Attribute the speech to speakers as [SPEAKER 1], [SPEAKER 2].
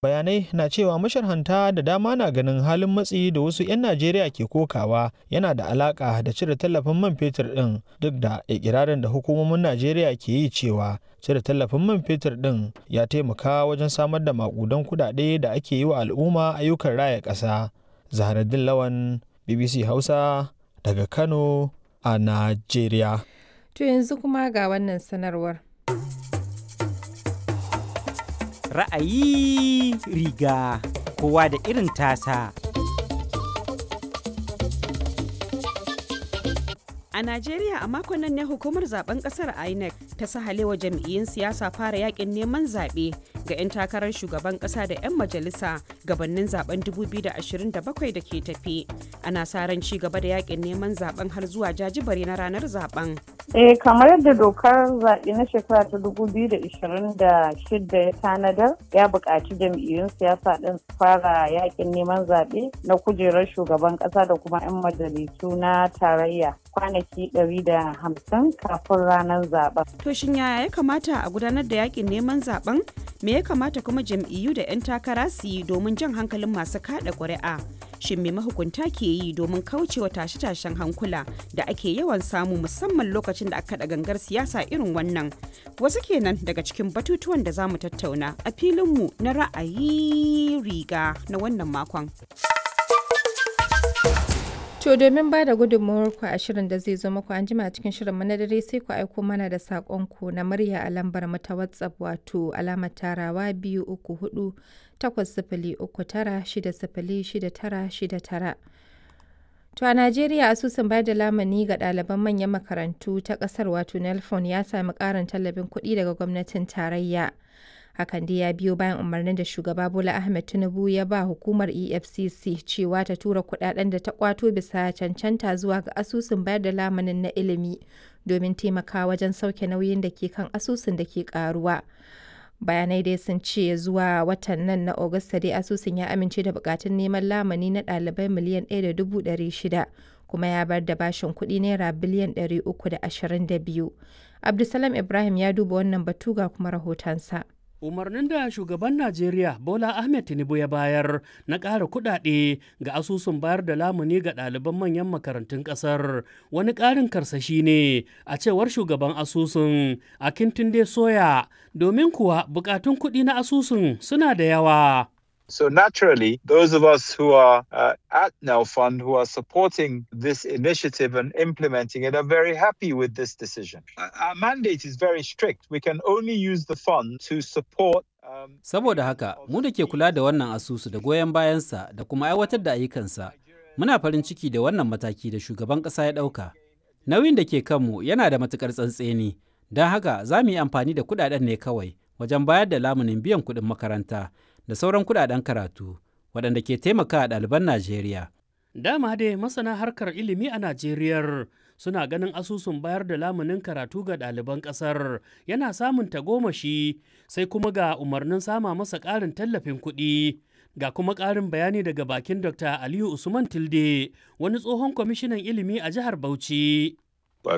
[SPEAKER 1] Bayanai na cewa masharhanta da dama na ganin halin matsi da wasu 'yan Najeriya ke kokawa yana da alaƙa da cire tallafin man fetur ɗin, duk da iƙirarin da hukumomin Najeriya ke yi cewa cire tallafin man fetur ɗin ya taimaka wajen samar da maƙudan kuɗaɗe da ake yi wa al'umma ayyukan raya ƙasa. Zahraddeen Lawan, BBC Hausa, daga Kano a Najeriya.
[SPEAKER 2] To yanzu kuma ga wannan sanarwar.
[SPEAKER 3] Ra'ayi riga kowa da irin tasa.
[SPEAKER 4] A Najeriya a makon nan ne hukumar zaben kasar INEC ta sahalewa jam'iyyun siyasa fara yakin neman zaɓe ga 'yan takarar shugaban ƙasa da 'yan majalisa gabanin zaben 2027 da ke tafi. Ana sa ran ci gaba da yakin neman zaben har zuwa jajibare na ranar zaben.
[SPEAKER 5] Eh, kamar yadda dokar zaɓe na shekara ta 2026 ya tanadar, ya buƙaci jam'iyyun siyasa ɗin su fara yakin neman zaɓe na kujerar shugaban ƙasa da kuma 'yan majalisu na tarayya kwanaki 150 kafin ranar zaɓen.
[SPEAKER 4] To shin yaya ya kamata a gudanar da yakin neman zaben? Me ya kamata kuma jam'iyyu da 'yan takara su yi domin jan hankalin masu kaɗa ƙuri'a? Shin me mahukunta ke yi domin kaucewa tashe-tashen hankula da ake yawan samu musamman lokacin da aka kaɗa gangar siyasa irin wannan? Wasu kenan daga cikin batutuwan da za mu tattauna a filinmu na ra'ayi riga na wannan makon.
[SPEAKER 2] To domin ba da gudunmawar ku a shirin da zai zo muku an jima cikin shirin mu na dare, sai ku aiko mana da saƙonku na murya a lambar mu ta WhatsApp, wato alamar tarawa 234 803 960 6969. To a Najeriya, asusun bayar da lamuni ga ɗaliban manyan makarantu ta ƙasar, wato NELFON, ya sami ƙarin tallafin kuɗi daga gwamnatin tarayya. Hakan dai ya biyo bayan umarnin da Shugaba Bola Ahmed Tinubu ya ba hukumar EFCC cewa ta tura kudaden da ta kwato bisa cancanta zuwa ga asusun bayar da lamunin na ilimi domin taimakawa wajen sauke nauyin da ke kan asusun da ke karuwa. Bayanai dai sun ce zuwa watan nan na Agusta dai asusun ya amince da bukatun neman lamuni na ɗalibai miliyan 1.600, kuma ya bar da bashin kuɗi naira biliyan 322. Abdulsalam Ibrahim ya duba wannan batu, ga kuma rahotonsa.
[SPEAKER 6] Umarnin da shugaban Najeriya Bola Ahmed Tinubu ya bayar na ƙara kuɗaɗe ga asusun bayar da lamuni ga ɗaliban manyan makarantun ƙasar wani ƙarin karsashi ne a cewar shugaban asusun Akintunde Soya, domin kuwa buƙatun kuɗi na asusun suna da yawa.
[SPEAKER 7] So naturally, those of us who are at Now Fund, who are supporting this initiative and implementing it, are very happy with this decision. Our mandate is very strict. We can only use the fund to support.
[SPEAKER 8] Saboda haka, mu da ke kula da wannan asusu da goyon bayansa da kuma aiwatar da ayyukansa, muna farin ciki da wannan mataki da shugaban ƙasa ya ɗauka. Nauyin da ke kanmu yana da matuƙar tsantseni, don haka za mu yi amfani da kuɗaɗen ne kawai wajen bayar da lamunin biyan kuɗin makaranta da sauran kudaden karatu waɗanda ke taimaka a ɗaliban Najeriya.
[SPEAKER 6] Dama dai masana harkar ilimi a Najeriya suna ganin asusun bayar da lamunin karatu ga ɗaliban ƙasar yana samun tagomashi, sai kuma ga umarnin sama masa ƙarin tallafin kuɗi. Ga kuma ƙarin bayani daga bakin Dr. Aliyu Usman Tilde, wani tsohon kwamishinan ilimi a jihar Bauchi.